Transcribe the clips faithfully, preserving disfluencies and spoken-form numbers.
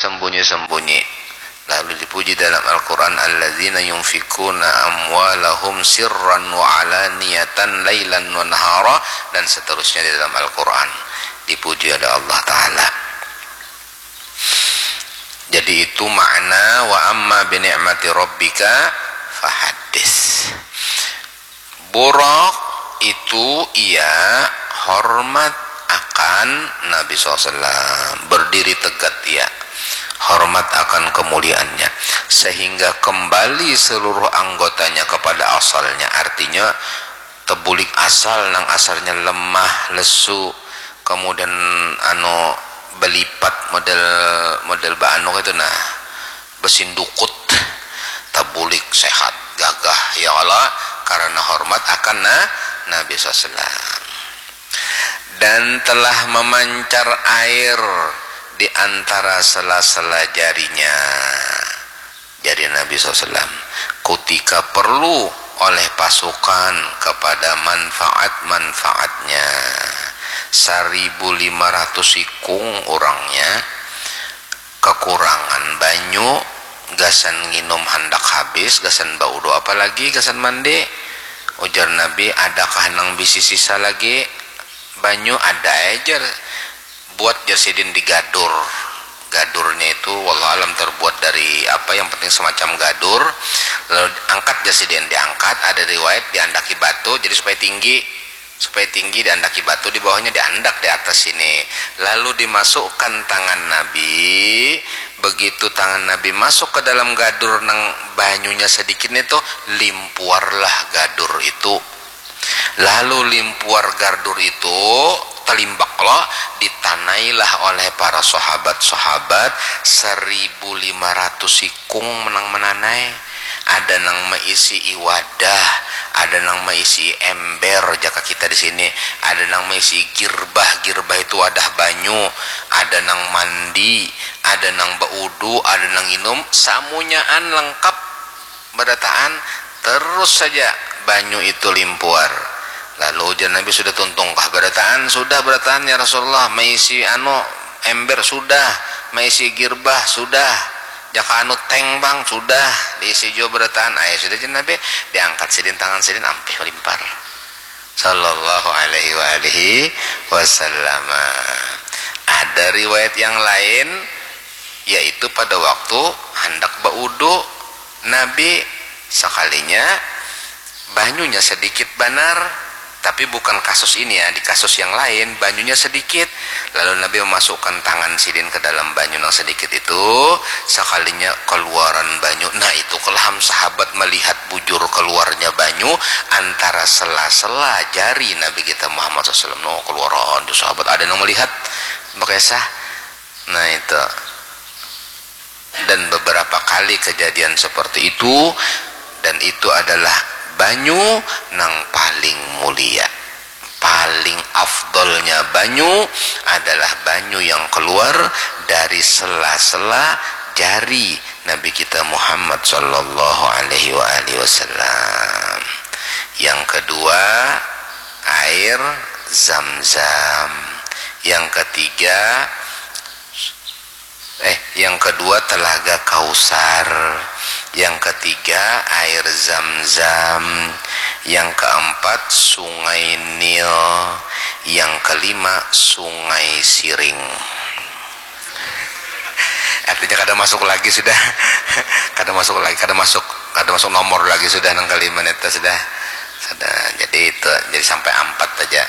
sembunyi-sembunyi. Lalu dipuji dalam Al-Quran, "Alladzina yunfikuna amwalahum sirran wa alaniyatan lailan wa nahara," dan seterusnya di dalam Al-Quran. Dipuji oleh Allah Ta'ala. Jadi itu makna "Wa amma bi ni'mati rabbika fahaddits." Buraq itu ia hormat akan Nabi sallallahu alaihi wasallam, berdiri tegak ia, hormat akan kemuliaannya, sehingga kembali seluruh anggotanya kepada asalnya, artinya tebulik asal, nang asalnya lemah, lesu, kemudian anu belipat model, model baanu itu nah, besindukut, tabulik sehat, gagah, ya Allah, karena hormat akan na, Nabi sallallahu alaihi wasallam. Dan telah memancar air di antara sela-sela jarinya, jari Nabi sallallahu alaihi wasallam, kutika perlu oleh pasukan kepada manfaat-manfaatnya. Saribu lima ratus ikung urangnya, kekurangan banyu, gasan nginum handak habis, gasan baudu, apalagi gasan mandi. Ujar Nabi, "Adakah nang bisi sisa lagi banyu?" "Ada ai," jar. "Buat," jar sidin, "di gadur." Gadurnya itu wallahu alam terbuat dari apa, yang penting semacam gadur. Lalu angkat, jar sidin, diangkat, ada riwayat diandaki batu, jadi supaya tinggi. Supaya tinggi diandaki batu, di bawahnya diandak di atas sini. Lalu dimasukkan tangan Nabi. Begitu tangan Nabi masuk ke dalam gadur nang banyunya sedikit itu, limpuarlah gadur itu. Lalu limpuar gadur itu, talimbak lo, ditanailah oleh para sahabat-sahabat seribu lima ratus ikung nang menanai. Ada nang meisi wadah, ada nang meisi ember, jaka kita di sini, ada nang meisi girbah, girbah itu wadah banyu, ada nang mandi, ada nang baudu, ada nang nginum, samunyaan lengkap barataan, terus saja banyu itu limpuar. Lalu ujar Nabi, "Sudah tuntungkah barataan?" "Sudah barataan, ya Rasulullah, meisi anu, ember sudah, meisi girbah sudah, jaka anu teng pang sudah, diisi jua barataan." "Ayo sudah," jar Nabi, diangkat sidin tangan sidin, ampih malimpar. Sallallahu alaihi wa alihi wasallam. Ada riwayat yang lain, yaitu pada waktu handak baudu, Nabi sakalinya banyunya sedikit banar, tapi bukan kasus ini ya, di kasus yang lain banyunya sedikit, lalu Nabi memasukkan tangan sidin ke dalam banyu nang sedikit itu, sakalinya keluaran banyu. Nah, itu kelaham sahabat melihat bujur keluarnya banyu antara sela-sela jari Nabi kita Muhammad sallallahu alaihi wasallam. No, keluaran tu sahabat, ada nang melihat, bakisah. Nah, itu. Dan beberapa kali kejadian seperti itu, dan itu adalah banyu nang paling mulia. Paling afdolnya banyu adalah banyu yang keluar dari sela-sela jari Nabi kita Muhammad sallallahu alaihi wa alihi wasallam. Yang kedua, air zam-zam. Yang ketiga, eh, yang kedua, Telaga Kausar. Yang ketiga, air zam-zam. Yang keempat, Sungai Nil. Yang kelima, Sungai Siring. Artinya kada masuk lagi sudah. Kada masuk lagi, kada masuk, kada masuk nomor lagi sudah nang kelima neta sudah. Sudah, jadi itu, jadi sampai ampat aja.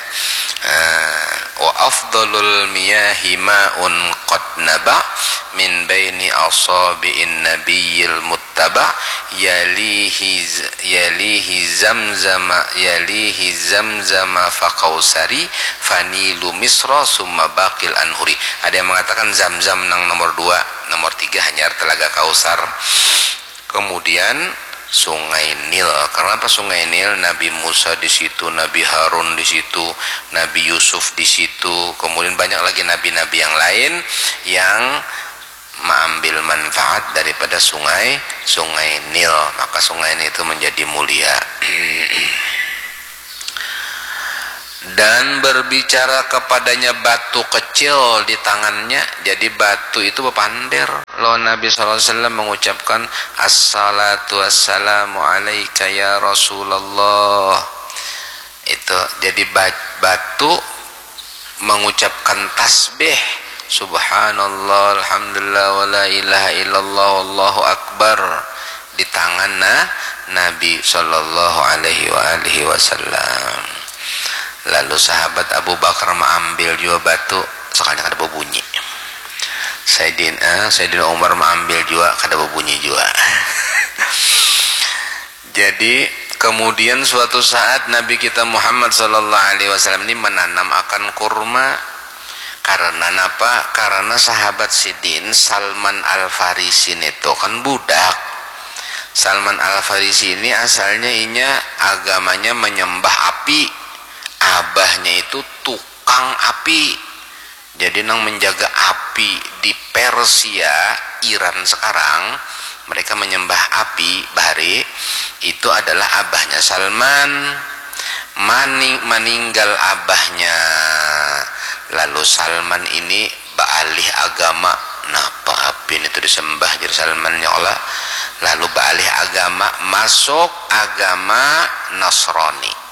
Eh, "Wa afdalul miyahi ma'un qad naba min baini asabi'in nabiyil muttaba, yalihi z-, yalihi zamzama, yalihi zamzama fa kausari, fanilu misra, summa baqil anhuri." Ada yang mengatakan zam-zam nang nomor dua, nomor tiga hanyar Telaga Kausar. Kemudian Sungai Nil. Kenapa Sungai Nil? Nabi Musa di situ, Nabi Harun di situ, Nabi Yusuf di situ. Kemudian banyak lagi nabi-nabi yang lain yang mengambil manfaat daripada sungai, Sungai Nil. Maka Sungai Nil itu menjadi mulia. Dan berbicara kepadanya batu kecil di tangannya. Jadi batu itu bepander. Lalu Nabi sallallahu alaihi wasallam mengucapkan, "Assalatu wassalamu alaika ya Rasulullah." Itu jadi batu mengucapkan tasbih, "Subhanallah, alhamdulillah, wala ilaha illallah, wallahu akbar," di tangan Nabi sallallahu alaihi wa alihi wasallam. Lalu sahabat Abu Bakar maambil jua batu, sakalinya kada babunyi. Saidina Umar maambil jua, kada babunyi jua. Jadi kemudian suatu saat Nabi kita Muhammad sallallahu alaihi wasallam ini menanam akan kurma. Karena napa? Karena sahabat sidin Salman Al Farisi nitu kan budak. Salman Al Farisi ini asalnya inya agamanya menyembah api. Abahnya itu tukang api. Jadi nang menjaga api di Persia, Iran sekarang, mereka menyembah api bahari, itu adalah abahnya Salman. Maning, maninggal abahnya, lalu Salman ini baalih agama. Napa api ini tuh disembah, jar Salman, ya Allah? Lalu baalih agama, masuk agama Nasrani.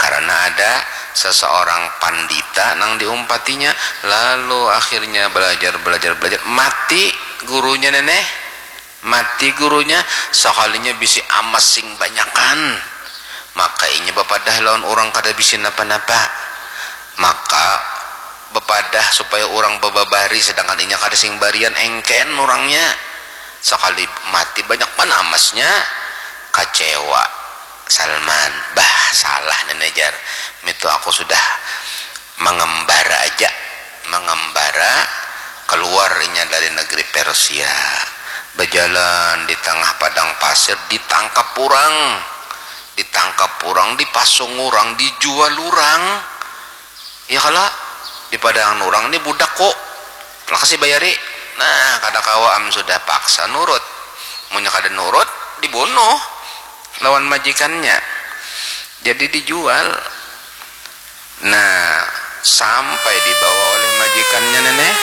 Karena ada seseorang pandita nang diumpatinya, lalu akhirnya belajar, belajar, belajar, mati gurunya, neneh. Mati gurunya, sakalinya bisi amas sing banyakan. Maka inya bapadah lawan urang kada bisi napa-napa. Maka bapadah supaya urang bababari, sedangkan inya kada sing barian, engken urangnya. Sakali mati banyak banar amasnya. Kacewa Salman, "Bah, salah nih," jar. "Mitu aku sudah mangambara aja, mangambara." Keluar inya dari negeri Persia, bajalan di tangah padang pasir, ditangkap urang, ditangkap urang, dipasung urang, dijual urang. Ya kalo, dipadangan urang ni budak ku, lakasi bayari. Nah, kada kawa am sudah, paksa nurut. Munnya kada nurut, dibunuh lawan majikannya. Jadi dijual. Nah, sampai dibawa oleh majikannya, neneh,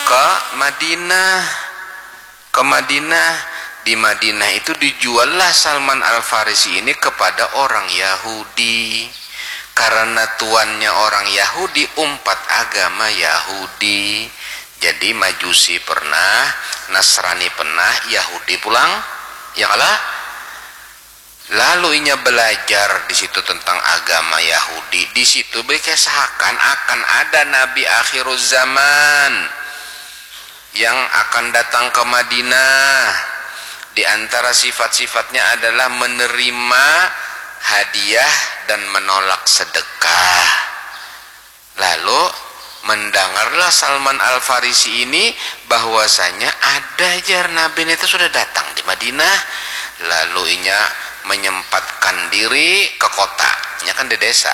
ke Madinah. Ke Madinah. Di Madinah itu dijuallah Salman Al Farisi ini kepada orang Yahudi. Karena tuannya orang Yahudi, umpat agama Yahudi. Jadi Majusi pernah, Nasrani pernah, Yahudi pulang. Ya kalo? Lalu inya belajar di situ tentang agama Yahudi. Di situ dikesahakan akan ada nabi akhiruz zaman yang akan datang ke Madinah. Di antara sifat-sifatnya adalah menerima hadiah dan menolak sedekah. Lalu mendangarlah Salman Al Farisi ini bahwasanya ada, jar, nabi nitu sudah datang di Madinah. Lalu inya menyempatkan diri ke kota. Inya kan di desa.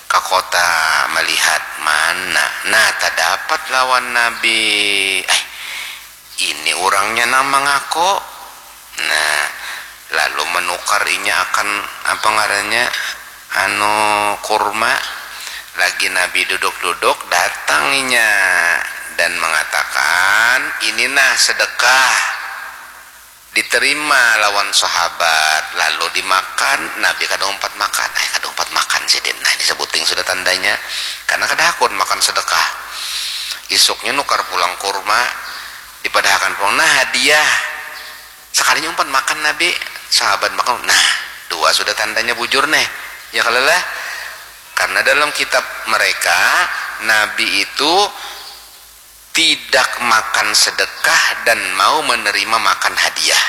Ke kota melihat, mana, nah, tadapat lawan nabi. Eh, ini urangnya nang mangaku. Nah, lalu menukar inya akan, apa ngarannya, anu, kurma. Lagi nabi duduk-duduk, datang inya dan mengatakan, "Ini nah sedekah." Diterima lawan sahabat, lalu dimakan. Nabi kada umpat makan. "Ai, kada umpat makan sidin. Nah, ini sebuting sudah tandanya." Karena kada hakun makan sedekah. Isuknya nukar pulang kurma, dipadahakan pulang, "Nah, hadiah." Sakalinya umpat makan nabi, sahabat makan, "Nah, dua sudah tandanya bujur neh." Ya kalo lah? Karena dalam kitab mereka, nabi itu tidak makan sedekah dan mau menerima makan hadiah.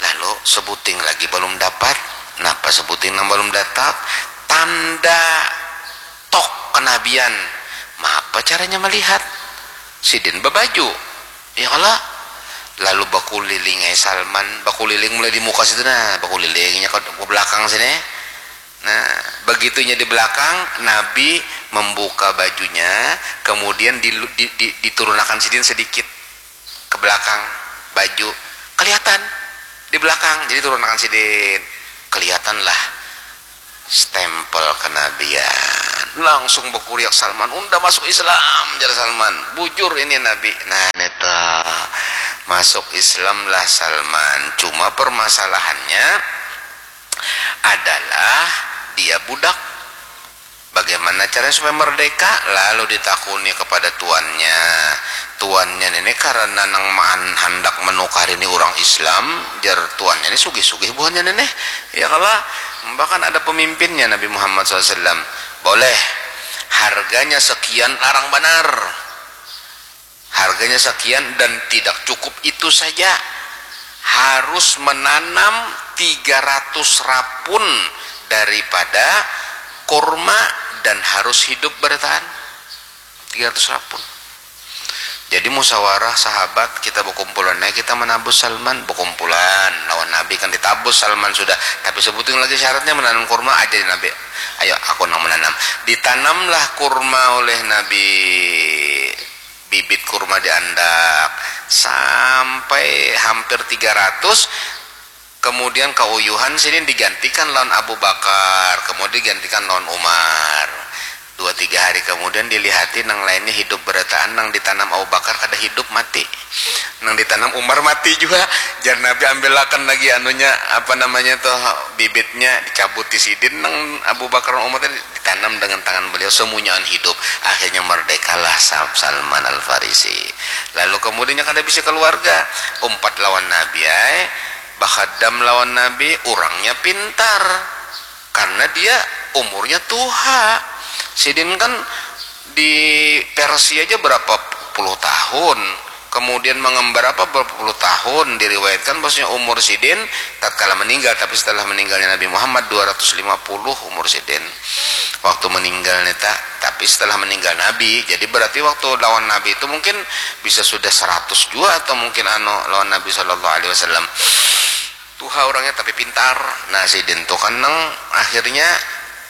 Lalu sebuting lagi balum dapat. Napa sebuting nang balum dapat? Tanda tok kenabian. Mapa caranya melihat? Sidin babaju. Ya kalo? Lalu bakuliling ai Salman, bakuliling mulai di muka situ, nah, bakulilingnya ke, ke belakang sini. Nah, begitu inya di belakang, Nabi membuka bajunya, kemudian di, di, di, diturunakan sidin sedikit ke belakang baju, kelihatan di belakang, jadi turunakan sidin, kelihatanlah stempel kenabian. Langsung berkuriak Salman, "Unda masuk Islam," jar Salman. "Bujur ini Nabi." Nah, neta masuk Islam lah Salman. Cuma permasalahannya adalah dia budak. Bagaimana caranya supaya merdeka? Lalu ditakuni kepada tuannya. Tuannya ini karena nang maan handak menukar ini orang Islam, jar tuannya ini sugih-sugih buhannya ini. Ya kalau bahkan ada pemimpinnya Nabi Muhammad sallallahu alaihi wasallam. Boleh, harganya sekian, larang banar. Harganya sekian dan tidak cukup itu saja. Harus menanam tiga ratus rapun daripada kurma dan harus hidup bertahan. Tiga ratus rapun. Jadi musyawarah sahabat, kita berkumpulan, nah kita menabus Salman, berkumpulan lawan Nabi kan ditabus Salman sudah. Tapi sebuting lagi syaratnya menanam kurma aja di Nabi. Ayo aku nang menanam. Ditanamlah kurma oleh Nabi, bibit kurma diandak sampai hampir tiga ratus. Kemudian kauyuhan sidin digantikan lawan Abu Bakar, kemudian digantikan lawan Umar. Dua tiga hari kemudian dilihati nang lainnya hidup berataan, nang ditanam Abu Bakar kada hidup, mati. Nang ditanam Umar mati juga. Jar Nabi, "Ambilakan lagi anunya, apa namanya tuh, bibitnya." Dicabuti sidin nang Abu Bakar, Umar tadi, ditanam dengan tangan beliau, semunyaan hidup. Akhirnya merdekalah Sa-, Salman Al Farisi. Lalu kemudiannya kada bisa keluarga, umpat lawan Nabi ai, bakadam lawan Nabi, urangnya pintar karena dia umurnya tuha. Sidin kan di Persia aja berapa puluh tahun, kemudian mengembar apa berapa puluh tahun, diriwayatkan bahwasanya umur sidin tatkala meninggal, tapi setelah meninggalnya Nabi Muhammad dua ratus lima puluh umur sidin waktu meninggal neta, tapi setelah meninggal Nabi. Jadi berarti waktu lawan Nabi itu mungkin bisa sudah seratus jua atau mungkin anu lawan Nabi sallallahu alaihi wasallam. Tuha orangnya tapi pintar. Nah, sidin tu kan nang akhirnya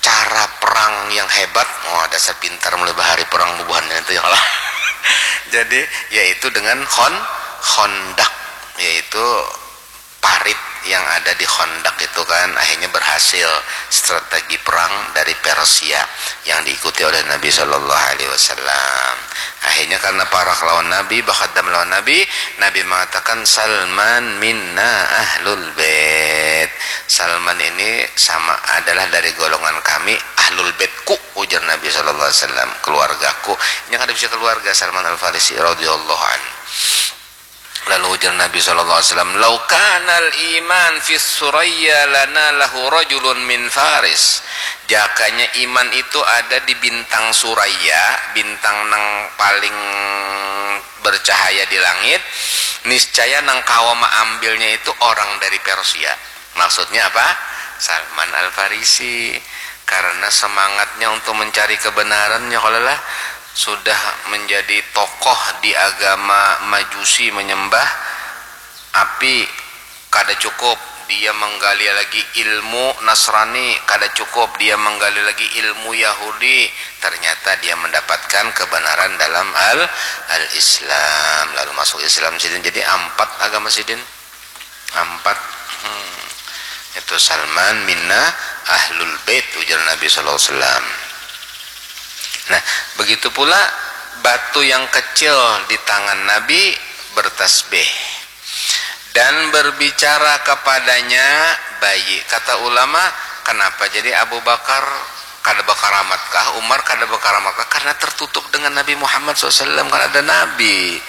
cara perang yang hebat. Wah, dasar pintar mulai bahari perang bubuhannya itu ya lah. Jadi yaitu dengan khon-, khondak, yaitu parit yang ada di khondak itu kan akhirnya berhasil strategi perang dari Persia yang diikuti oleh Nabi Shallallahu Alaihi Wasallam. Akhirnya karena parak lawan Nabi, bakadam lawan Nabi, Nabi mengatakan, "Salman minna ahlul bait." Salman ini sama adalah dari golongan kami, ahlul baitku, ujar Nabi Shallallahu Alaihi Wasallam, keluargaku. Yang ada bisa keluarga Salman Al Farisi radhiyallahu anhu. Lalu ujar Nabi sallallahu alaihi wasallam, "Lau kanal iman fi Suraya lana lahu rajulun min Faris." Jakanya iman itu ada di bintang Suraya, bintang nang paling bercahaya di langit, niscaya nang kawa maambilnya itu orang dari Persia. Maksudnya apa? Salman Al Farisi. Karena semangatnya untuk mencari kebenarannya, kalau lah sudah menjadi tokoh di agama Majusi menyembah api, kada cukup dia menggali lagi ilmu Nasrani, kada cukup dia menggali lagi ilmu Yahudi, ternyata dia mendapatkan kebenaran dalam al al Islam, lalu masuk Islam sidin. Jadi ampat agama sidin, ampat. Hmm. Itu Salman minna ahlul bait, ujar Nabi sallallahu alaihi wasallam. Nah, begitu pula batu yang kecil di tangan Nabi bertasbih dan berbicara kepadanya bayi. Kata ulama, kenapa jadi Abu Bakar kada berkaramat kah, Umar kada berkaramat kah? Karena tertutup dengan Nabi Muhammad sallallahu alaihi wasallam, kan ada Nabi.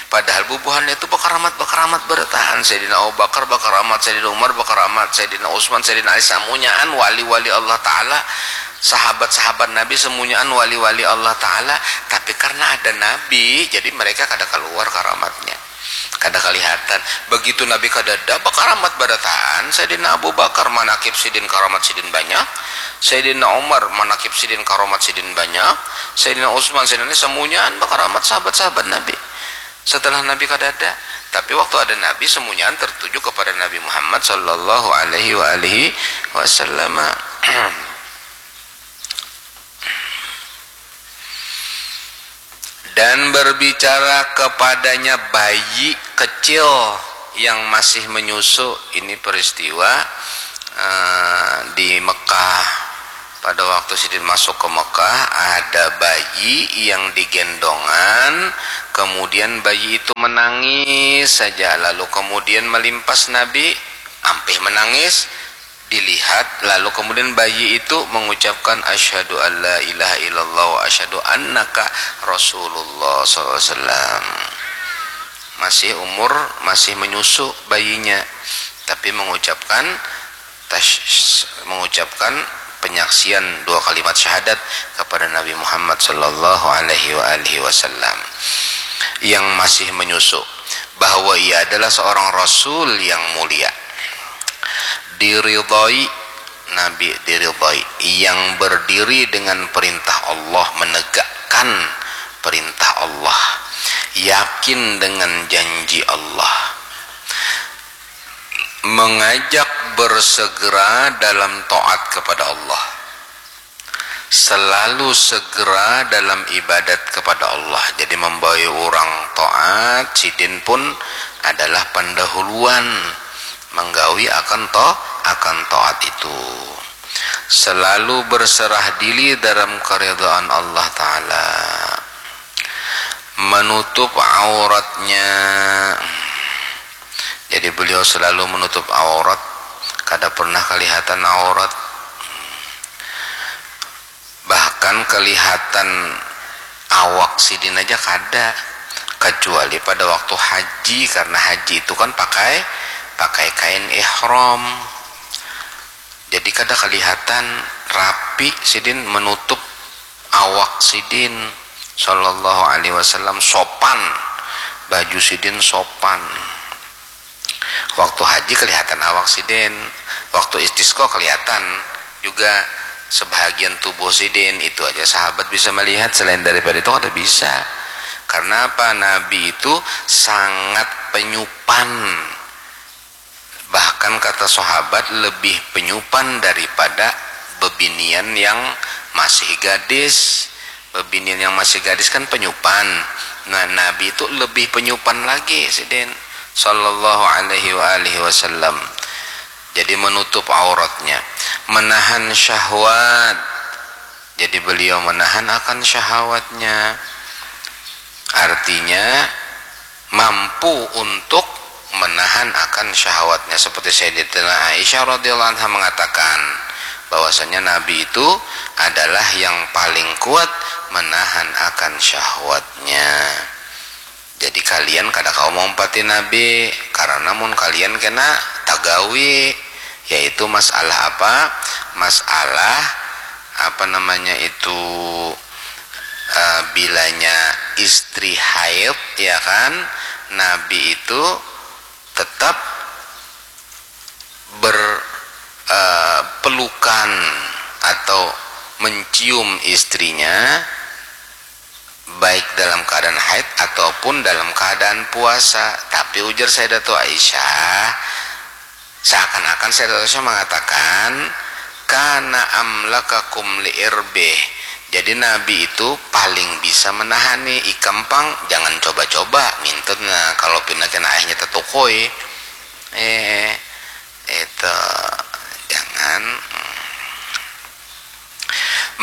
Padahal bubuhannya itu berkaramat, berkaramat bertahan. Sayyidina Abu Bakar berkaramat, Sayyidina Umar berkaramat, Sayyidina Utsman, Sayyidina Ali, samunyaan wali-wali Allah Ta'ala, sahabat-sahabat Nabi semunyaan wali-wali Allah Ta'ala. Tapi karena ada Nabi, jadi mereka kada keluar karamatnya, kada kelihatan. Begitu Nabi kadada, berkaramat bertahan. Sayyidina Abu Bakar, manakib sidin, karamat sidin banyak. Sayyidina Umar, manakib sidin, karamat sidin banyak. Sayyidina Utsman, Sayyidina Ali, semunyaan berkaramat sahabat-sahabat Nabi. Setelah Nabi kadada, tapi waktu ada Nabi, semunyaan tertuju kepada Nabi Muhammad sallallahu alaihi wa alihi wasallam. Dan berbicara kepadanya bayi kecil yang masih menyusu. Ini peristiwa, eh, di Mekah Pada waktu sidin masuk ke Mekah, ada bayi yang digendongan, kemudian bayi itu menangis saja, lalu kemudian melimpas Nabi, ampih menangis, dilihat, lalu kemudian bayi itu mengucapkan, "Asyhadu an la ilaha illallah wa asyhadu annaka Rasulullah," sallallahu alaihi wasallam. Masih umur, masih menyusu bayinya, tapi mengucapkan tas-, mengucapkan penyaksian dua kalimat syahadat kepada Nabi Muhammad sallallahu alaihi wa alihi wasallam yang masih menyusu, bahwa ia adalah seorang rasul yang mulia, diridhai, Nabi diridhai, yang berdiri dengan perintah Allah, menegakkan perintah Allah, yakin dengan janji Allah, mengajak bersegera dalam taat kepada Allah, selalu segera dalam ibadat kepada Allah. Jadi membawa orang taat, sidin pun adalah pendahuluan menggawi akan to-, akan taat itu. Selalu berserah diri dalam keridhaan Allah Ta'ala. Menutup auratnya. Jadi beliau selalu menutup aurat, kada pernah kelihatan aurat. Bahkan kelihatan awak sidin aja kada, kecuali pada waktu haji, karena haji itu kan pakai, pakai kain ihram. Jadi kada kelihatan rapi sidin menutup awak sidin, sallallahu alaihi wasallam, sopan, baju sidin sopan. Waktu haji kelihatan awak sidin, waktu istisqa kelihatan juga sebahagian tubuh sidin. Itu aja sahabat bisa melihat, selain daripada itu kada bisa. Karena apa? Nabi itu sangat penyupan. Bahkan kata sahabat, lebih penyupan daripada bebinian yang masih gadis. Bebinian yang masih gadis kan penyupan. Nah, Nabi itu lebih penyupan lagi sidin, sallallahu alaihi wa alihi wasallam. Jadi menutup auratnya, menahan syahwat. Jadi beliau menahan akan syahwatnya. Artinya mampu untuk menahan akan syahwatnya, seperti Sayyidatina Aisyah radhiyallahu anha mengatakan bahwasanya Nabi itu adalah yang paling kuat menahan akan syahwatnya. Jadi kalian kada kawa maumpati Nabi, karena mun kalian kena tagawi, yaitu masalah apa? Masalah apa namanya itu, eh, bilanya istri haid, ya kan, Nabi itu tetap ber, eh, pelukan atau mencium istrinya, baik dalam keadaan haid ataupun dalam keadaan puasa. Tapi ujar Sayyidatu Aisyah, seakan-akan Sayyidatu Aisyah mengatakan, "Kana amlakakum li irbih." Jadi Nabi itu paling bisa menahani. Ikam pang jangan coba-coba ngintut, nah, kalau pina kena aihnya tetukui. Eh, itu jangan.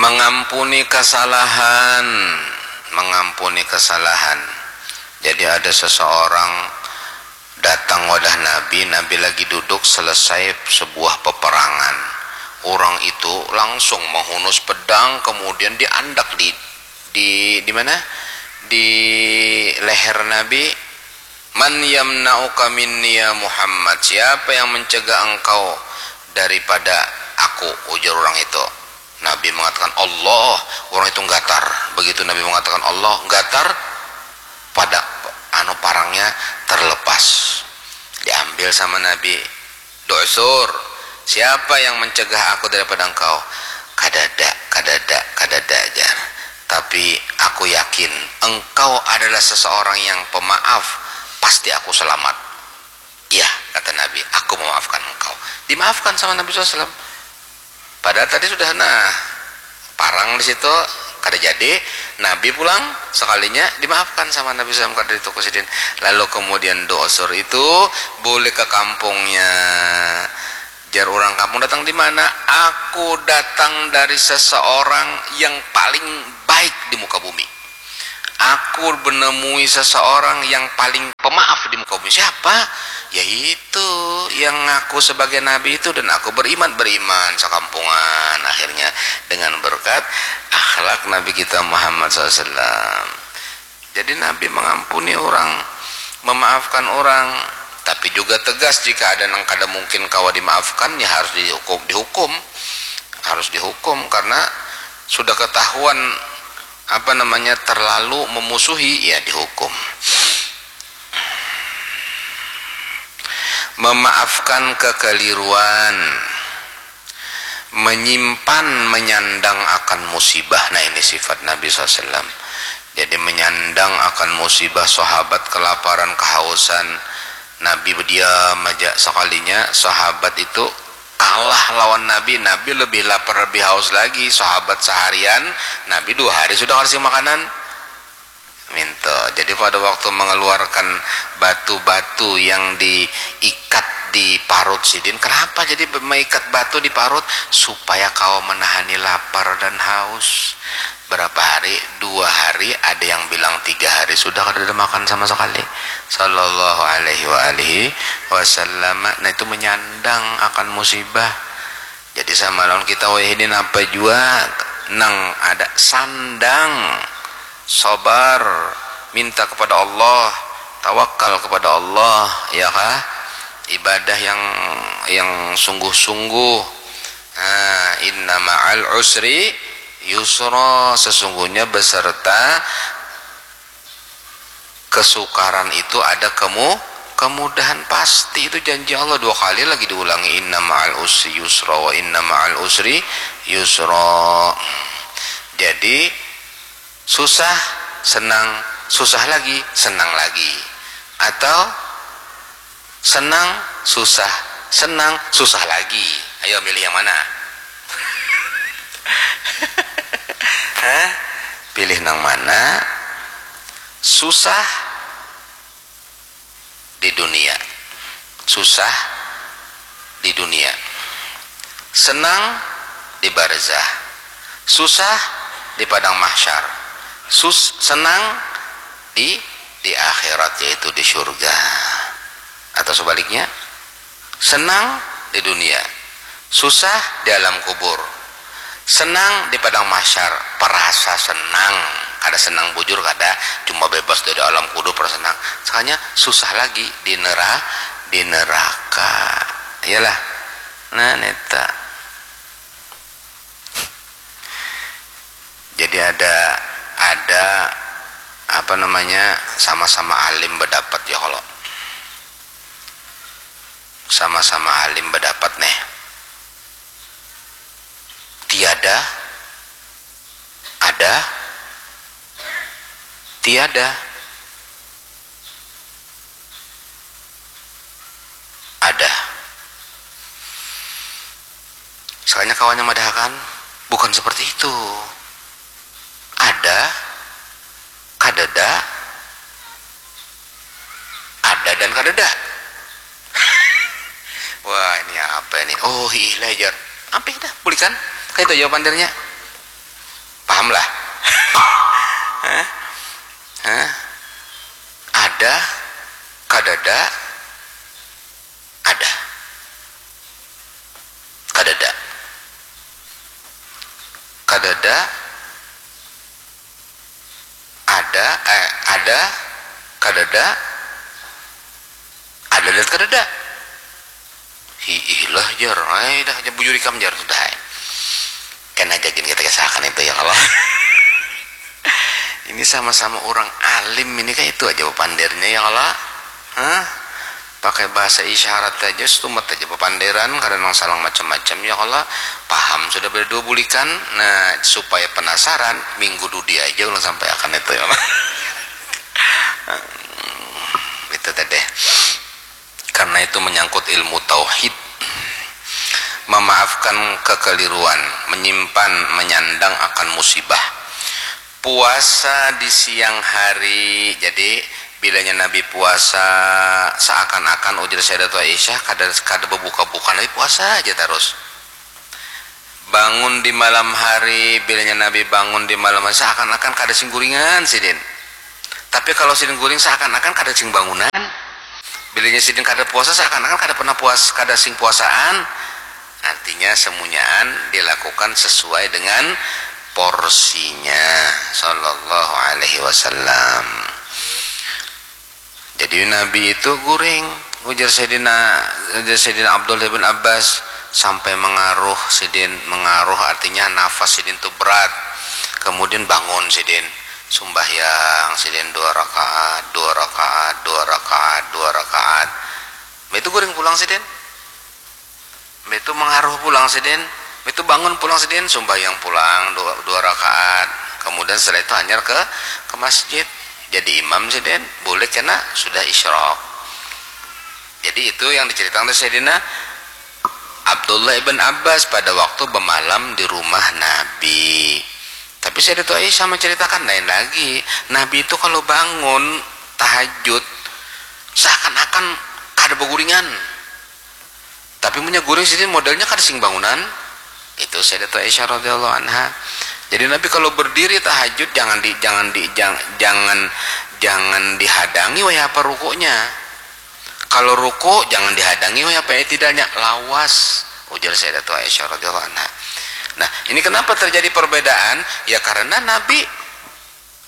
Mengampuni kesalahan, mengampuni kesalahan. Jadi ada seseorang datang wadah Nabi, Nabi lagi duduk selesai sebuah peperangan. Orang itu langsung menghunus pedang, kemudian diandak di, di, di mana? Di leher Nabi. "Man yamna'uka minni ya Muhammad? Siapa yang mencegah engkau daripada aku?" ujar orang itu. Nabi mengatakan, "Allah." Orang itu gatar. Begitu Nabi mengatakan Allah, gatar, pada anu parangnya terlepas. Diambil sama Nabi. "Du'sur, siapa yang mencegah aku daripada engkau?" "Kadada, kadada, kadada," jar. "Tapi aku yakin engkau adalah seseorang yang pemaaf, pasti aku selamat." "Iya," kata Nabi, "aku memaafkan engkau." Dimaafkan sama Nabi sallallahu alaihi wasallam. Padahal tadi sudah, nah, parang di situ, kada jadi, Nabi pulang sekalinya dimaafkan sama Nabi sallallahu alaihi wasallam, kada dituku sidin. Lalu kemudian Du'sur itu bulik ke kampungnya. Jar orang kampung, "Datang di mana?" "Aku datang dari seseorang yang paling baik di muka bumi. Aku menemui seseorang yang paling pemaaf di muka bumi." "Siapa?" "Ya itu, yang ngaku sebagai nabi itu, dan aku beriman." Beriman sekampungan akhirnya dengan berkat akhlak Nabi kita Muhammad sallallahu alaihi wasallam. Jadi Nabi mengampuni orang, memaafkan orang, tapi juga tegas jika ada nang kada mungkin kawa dimaafkan, ya harus dihukum, dihukum, harus dihukum karena sudah ketahuan apa namanya terlalu memusuhi, ya dihukum. Memaafkan kekeliruan, menyimpan, menyandang akan musibah. Nah, ini sifat Nabi sallallahu alaihi wasallam. Jadi menyandang akan musibah, sahabat kelaparan, kehausan, Nabi berdiam aja. Sekalinya sahabat itu kalah lawan Nabi, Nabi lebih lapar, lebih haus lagi. Sahabat seharian, Nabi dua hari sudah kasih makanan. Minto. Jadi pada waktu mengeluarkan batu-batu yang diikat di parut sidin, kenapa jadi meikat batu di parut? Supaya kawa menahani lapar dan haus. Berapa hari? Dua hari, ada yang bilang tiga hari sudah kada ada makan sama sekali. Sallallahu alaihi wa alihi wasallam. Nah, itu menyandang akan musibah. Jadi sama lawan kita wayah ini, napa jua nang ada, sandang, sabar, minta kepada Allah, tawakal kepada Allah, ya kah? Ibadah yang yang sungguh-sungguh. Nah, inna ma'al usri yusra, sesungguhnya beserta kesukaran itu ada kemu kemudahan. Pasti itu janji Allah, dua kali lagi diulangi, inna ma'al usri yusra, wa inna ma'al usri yusra. Jadi susah, senang, susah lagi, senang lagi, atau senang, susah, senang, susah lagi. Ayo milih yang mana? Hah? Pilih nang mana? Susah di dunia. Susah di dunia. Senang di barzah. Susah di padang mahsyar. Sus senang di di akhirat, yaitu di surga. Atau sebaliknya, senang di dunia, susah di alam kubur, senang di padang mahsyar, perasa senang, kada senang bujur kada, cuma bebas dari alam kubur, perasa senang. Sekalinya susah lagi di nera di neraka. Iyalah. Nah, neta. Jadi ada ada apa namanya, sama-sama alim berdapat ya, kalau sama-sama alim berdapat nih, tiada ada tiada ada. Sekalinya kawannya madahakan, bukan seperti itu. Ada, kadada, ada dan kadada. Wah, ini apa ini? Oh, hiih lah, jar. Apa dah? Bulikan. Kayak itu jawaban dirinya. Paham lah? Hah? Hah? Ada, kadada, ada. Kadada. Kadada. Ada, eh, ada, kadada. Ada dan kadada. Hiih lah, jar. Ai dah, jar bujur ikam, jar, sudah ai. Kena aja gin kita kisahkan itu ya, kalau ini sama-sama orang alim ini, kayak itu aja pandirnya ya, kalau, hah? Pakai bahasa isyarat aja, setumat aja papanderan, kada nang salang macam-macam ya, kalau paham sudah berdua bulikan. Nah, supaya penasaran, minggu dudi aja ulang sampai akan itu ya, kalau itu tadi. Karena itu menyangkut ilmu tauhid. Memaafkan kekeliruan, menyimpan, menyandang akan musibah. Puasa di siang hari, jadi Bilanya Nabi puasa, seakan-akan ujar Sayyidatul Aisyah kada kada bebuka-buka, Nabi puasa aja terus. Bangun di malam hari, bilanya Nabi bangun di malam hari seakan-akan kada sing guringan sidin. Tapi kalau sidin guring seakan-akan kada sing bangunan. Bilanya sidin kada puasa seakan-akan kada pernah puas kada sing puasaan. Artinya semunyaan dilakukan sesuai dengan porsinya, sallallahu alaihi wasallam. Jadi Nabi itu guring, ujar Sayyidina ujar Sayyidina Abdullah bin Abbas, sampai mengaruh sidin, mengaruh artinya nafas sidin tu berat. Kemudian bangun sidin, sumbahyang sidin dua rakaat, dua rakaat, dua rakaat, dua rakaat. Itu guring pulang sidin. Itu mengaruh pulang sidin. Itu bangun pulang sidin, sumbahyang pulang dua, dua rakaat. Kemudian setelah itu hanyar ke ke masjid. Jadi imam sidin, boleh kena sudah isyrok. Jadi itu yang diceritakan oleh Sayyidina Abdullah ibn Abbas pada waktu bermalam di rumah Nabi. Tapi Sayyidatu Aisyah menceritakan lain lagi. Nabi itu kalau bangun tahajud seakan-akan kada berguringan. Tapi punya guring sidin modelnya kada sing bangunan. Itu Sayyidatu Aisyah radhiyallahu anha. Jadi Nabi kalau berdiri tahajud jangan di jangan di jang, jangan jangan dihadangi wayah apa rukuknya. Kalau ruku jangan dihadangi wayah apa itidalnya, lawas, ujar Sayyidatu Aisyah radhiyallahu anha. Nah, ini kenapa terjadi perbedaan? Ya karena Nabi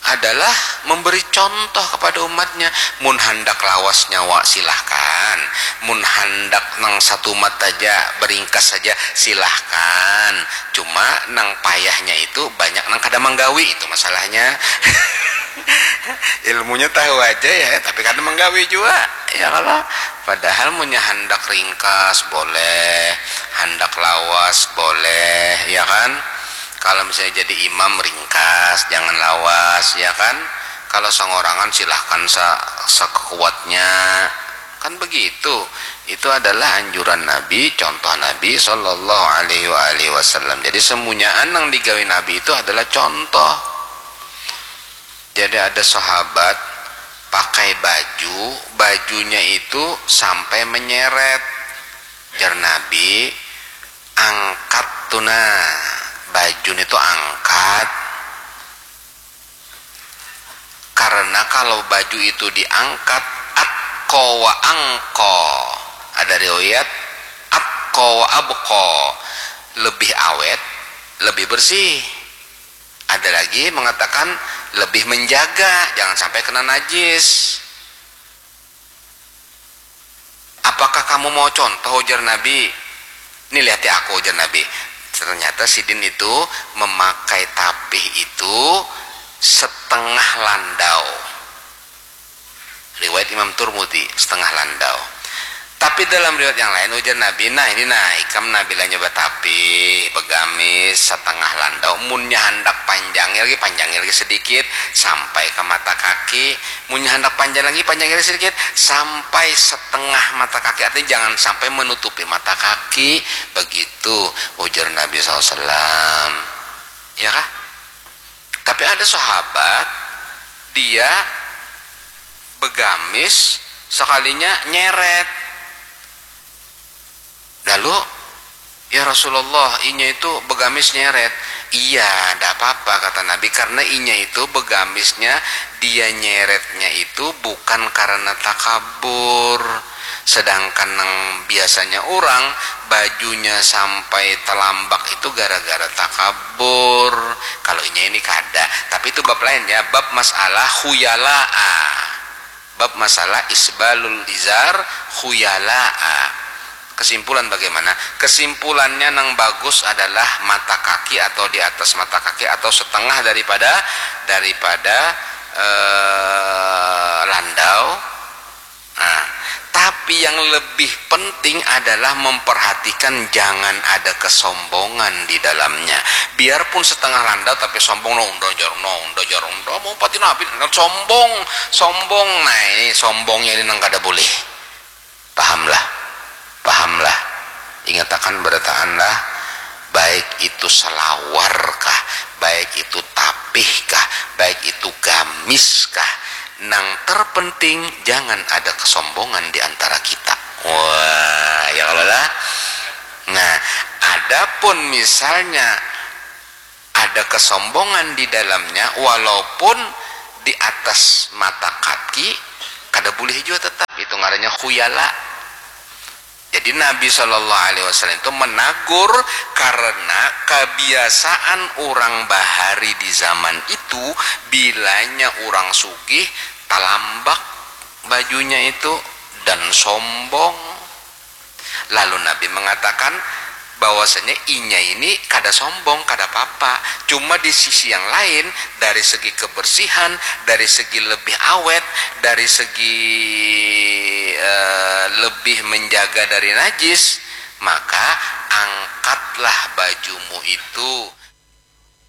adalah memberi contoh kepada umatnya. Mun handak lawas nyawa silahkan, mun handak nang satumat saja, beringkas saja, silahkan. Cuma nang payahnya itu banyak nang kada manggawi, itu masalahnya. Ilmunya tahu aja ya, tapi kada manggawi juga, ya kalau. Padahal munnya handak ringkas boleh, handak lawas boleh, ya kan? Kalau misalnya jadi imam ringkas, jangan lawas, ya kan? Kalau songorangan silahkan sa sekuatnya, kan begitu. Itu adalah anjuran Nabi, contoh Nabi sallallahu alaihi wa alihi wasallam. Jadi semunyaan yang digawi Nabi itu adalah contoh. Jadi ada sahabat pakai baju, bajunya itu sampai menyeret. Jar Nabi, angkat tu nah, bajun itu angkat. Karena kalau baju itu diangkat, atko wa angko. Ada riwayat atko wa abko, lebih awet, lebih bersih. Ada lagi mengatakan lebih menjaga, jangan sampai kena najis. Apakah kamu mau contoh, ujar Nabi? Ini lihati aku, ujar Nabi. Ternyata sidin itu memakai tapih itu setengah landau. Riwayat Imam Turmudi, setengah landau. Tapi dalam riwayat yang lain ujar Nabi, nah ini nah ikam nah bilanya batapih, begamis, setengah landau, munnya handak panjangnya lagi, panjangnya lagi sedikit sampai ke mata kaki, munnya handak panjang lagi, panjangnya lagi sedikit sampai setengah mata kaki, artinya jangan sampai menutupi mata kaki, begitu ujar Nabi sallallahu alaihi wasallam. Ya kah? Tapi ada sahabat, dia begamis sekalinya nyeret. Lalu, ya Rasulullah, inya itu begamis nyeret. Iya, ndak apa-apa, kata Nabi, karena inya itu begamisnya, dia nyeretnya itu bukan karena takabur. Sedangkan nang biasanya orang bajunya sampai telambak itu gara-gara takabur. Kalau inya ini kada. Tapi itu bab lain ya, bab masalah khuyalaa. Bab masalah isbalul izar khuyalaa. Kesimpulan bagaimana? Kesimpulannya nang bagus adalah mata kaki atau di atas mata kaki atau setengah daripada daripada eh, landau. Nah, tapi yang lebih penting adalah memperhatikan jangan ada kesombongan di dalamnya. Biarpun setengah landau tapi sombong, no unda jar, no unda jar, unda mau pati nabi, no, sombong, sombong, nah ini sombongnya ini nang kada boleh. Pahamlah, pahamlah. Ingatakan barataan lah, baik itu salawar kah, baik itu tapih kah, baik itu gamis kah, Nang terpenting jangan ada kesombongan di antara kita. Wah, ya kalau lah. Nah, adapun misalnya ada kesombongan di dalamnya, walaupun di atas mata kaki, kada boleh juga tetap. Itu ngarannya khuyala. Jadi Nabi Shallallahu Alaihi Wasallam itu menagur karena kebiasaan orang bahari di zaman itu, bilanya orang sugih talambak bajunya itu dan sombong. Lalu Nabi mengatakan bahwasanya inya ini kada sombong, kada apa-apa. Cuma di sisi yang lain, dari segi kebersihan, dari segi lebih awet, dari segi eh, lebih menjaga dari najis, maka angkatlah bajumu itu.